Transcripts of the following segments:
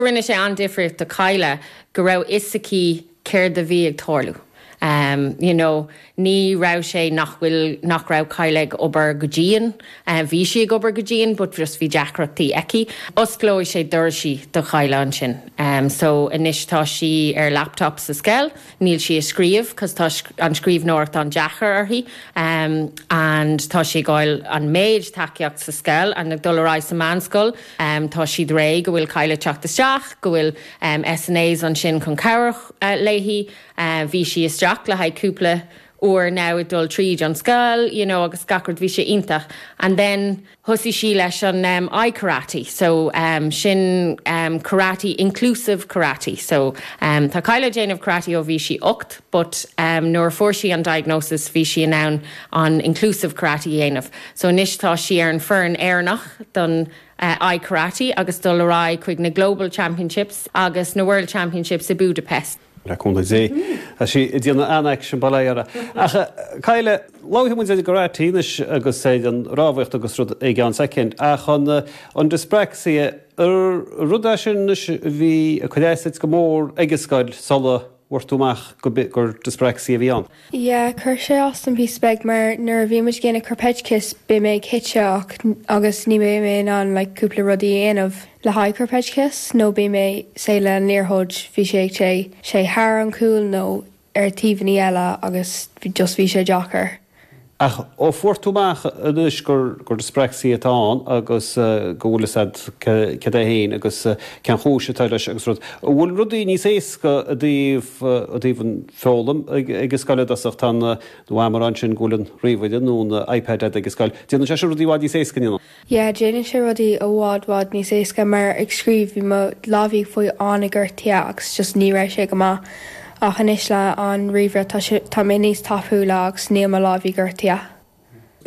Rinne sé an-difríocht do Kyla go raibh fhios aici céard a bhí ag tarlú. You know, ní raibh sé nach bhfuil, nach raibh Kyla ag obair go dian, bhí sí ag obair go dian but just bhí deacrachtaí aici. Osclóidh sé doirsí do Kyla ansin. So anois tá sí ar laptop sa scoil. Níl sí ag scríobh cos tá an scríbhneoireacht an-deacair uirthi and tá sí ag fháil an méid tacaíocht sa scoil and ag dul ar aghaidh sa meánscoil tá siad réidh go bhfuil Kyla ag teacht isteach, go bhfuil SNAs ansin chun cabhrach léi. Bhí sí isteach le haghaidh cúpla uair now ag dul tríd an scoil you know agus gach rud bhí sé iontach and then Thosaigh sí leis an iKarate so sin karate, inclusive karate so tá Kyla ag déanamh karate ó bhí sí 8 but nuair a fuair sí an diagnosis bhí sí in ann an inclusive karate a dhéanamh so anois tá sí ar an foireann Éireannach don iKarate agus dul ar aghaidh chuig na Global Championships agus na World Championships i Budapest. Le cúnamh Dé. Tá sí ag déanamh an-aicsean, bail ó Dhia uirthi. Ach, Kyla, labharfaidh muid ar an gkarate anois agus ar an rámhaíocht agus rud i gceann soicind, ach an an dyspraxia, ar rud é sin anois a bhí ag cur as duit go mór ag an scoil sula bhfuair tú amach gur dyspraxia a bhí ann? Yeah, chuir sé as dom píosa beag mar nuair a bhí muid ag déanamh Karpedkis beidh mé ag titeadh ach agus ní bheidh mé in ann like cúpla rudaí a dhéanamh le haghaidh Karpedkis nó beidh mé say le an liathróid bhí sé ag téigh sé thar an cúl nó ar taobhannaí eile agus just bhí sé deacair. Ach ó fuair tú amach anois gur dyspraxia atá ann agus go bhfuil fhios a'd céard é féin agus cén chúis atá leis agus rud, an bhfuil rudaí níos éasca i dtaobh, i dtaobh an foghlaim ag an scoil i dtosach, tá an, do mham a rá ansin go bhfuil an ríomhaire nó an iPad a'd ag an scoil, déanann sé sin rudaí i bhfad níos éasca, an ndéanann? Yeah, déanann sé rudaí i bhfad bhfad níos éasca mar ag scríobh bhí mo lámhaí ag fáil an-ghortaithe agus just ní raibh sé go maith ach anois le an ríomhaire tá sé tá mé níos tapúla agus níl mo lámhaí gortaithe.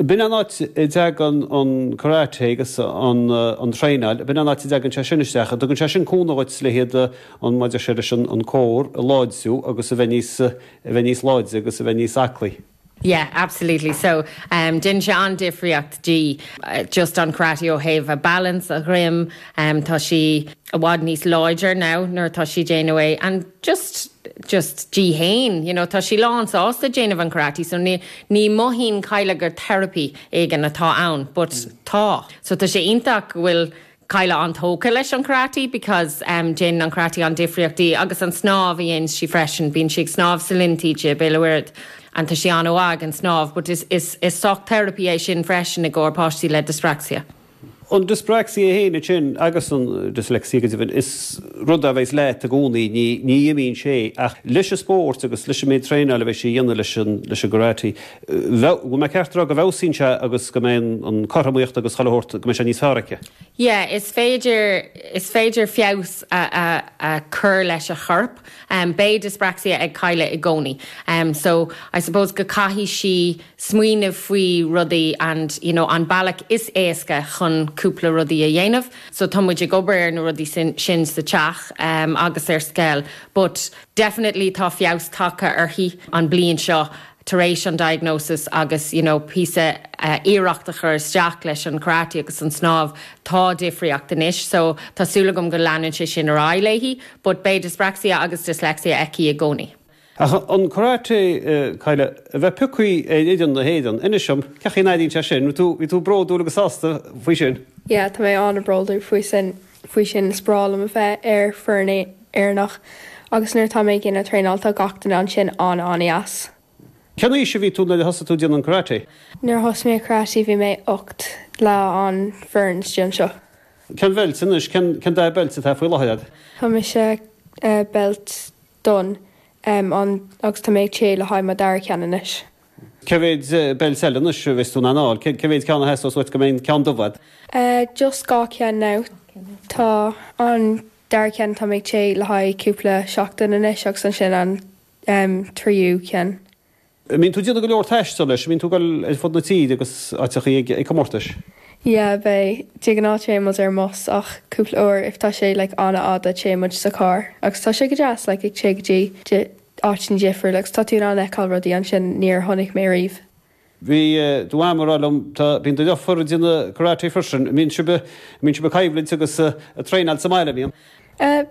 B'in an áit a dtagann an karate agus an an traenáil, b'in an áit a dtagann sé sin isteach, an dtugann sé sin cúnamh dhuit le hiad an mar a deir sé leis an an core a láidriú agus a bheith níos a bheith níos láidre agus a bheith níos aclaí. Yeah, absolutely. So, um, déanann sé an-difríocht di, just an karate ó thaobh a balance, a dhroim, um, tá sí i bhfad níos láidre now nuair atá sí ag déanamh é and just, just di fhéin, you know, tá sí lán sásta déanamh an karate so ní, ní mothaíonn Kyla gur therapy éigin atá ann but tá. So tá sé iontach go bhfuil Kyla an-tógtha leis an karate because déanann an karate an-difríocht di agus an snámh a dhéanann sí freisin, bíonn sí ag snámh sa linn taoide i Béal an Mhuirthead and tá sí an-mhaith ag an snámh but is is is sórt therapy é sin freisin i gcomhair páistí le dyspraxia. An dyspraxia féin ansin agus an dyslexia go deimhin, is rud a bheas leat i gcónaí, ní ní imíonn sé ach leis an spórt agus leis an méid traenáil a bheidh sí a dhéanamh leis an leis an gkarate, Bhfuil mé ceart a rá go bhfeabhsaíonn sé agus go mbeidh an cothromaíocht agus chuile shórt, go mbeidh sé níos fearr aici? Yeah, is féidir, is féidir feabhas a, a chur leis a chorp. Beidh dyspraxia ag Kyla i gcónaí. So, I suppose go caithfidh sí smaoineamh faoi rudaí and, you know, an bealach is éasca chun cúpla rudaí a dhéanamh. So, tá muid ag obair ar na rudaí sin, sin sa teach agus ar scoil. But, definitely tá feabhas tagtha uirthi an bliain seo. tar éis an diagnosis agus you know píosa iarracht a chur isteach leis an karate agus an snámh, tá difríocht anois so tá súil agam go leanann sé sin ar aghaidh léi but beidh dyspraxia agus dyslexia aici i gcónaí. Ach an karate, Kyla, a bheith pioctha ar fhoireann na hÉireann, inis dom, cén chaoi a n-airíonn sé sin? Bhí tú, bhí tú bródúil agus sásta faoi sin? Yeah, tá mé an-bhródúil faoi sin, faoi sin, is breá liom a bheith ar foireann Éireannach agus nuair atá mé ag déanamh traenáil tá gach duine ansin an-an-dheas. Cén aois a bhí tú nuair a thosaigh tú ag déanamh an karate? Nuair a thosaigh mé karate bhí mé 8 le an foireann istigh anseo. Cén bheilt anois, cén cén dath beilt atá faoi láthair agat? Tá mise beilt donn an agus tá mé ag téigh le haghaidh mo dara ceann anois. Cé mhéid beilt eile anois a bheas tú in ann a fháil? Cé mhéid ceann a theastós uait go mbeidh an ceann dubh agat? Just 2 cheann now. Tá an dara ceann tá mé ag téigh le haghaidh cúpla seachtain anois agus ansin an tríú ceann. An mbíonn tú ag déanamh go leor taistil leis? An mbíonn tú ag dul ar fud na tíre agus áiteachaí ag comórtais? Yeah, beidh. De ghnáth téann muid ar an mbus ach cúpla uair if tá sé like an-fhada téann muid sa carr agus tá sé go deas like ag téigh go dtí áiteanna difriúla agus tá tú in ann fheiceáil rudaí ansin níor chonaic mé riamh. Bhí do mham ag rá liom, tá, bíonn do dheirfiúr ag déanamh karate freisin, an mbíonn sibh, an mbíonn sibh ag coimhlint agus ag traenáil sa mbaile, an mbíonn? Eh.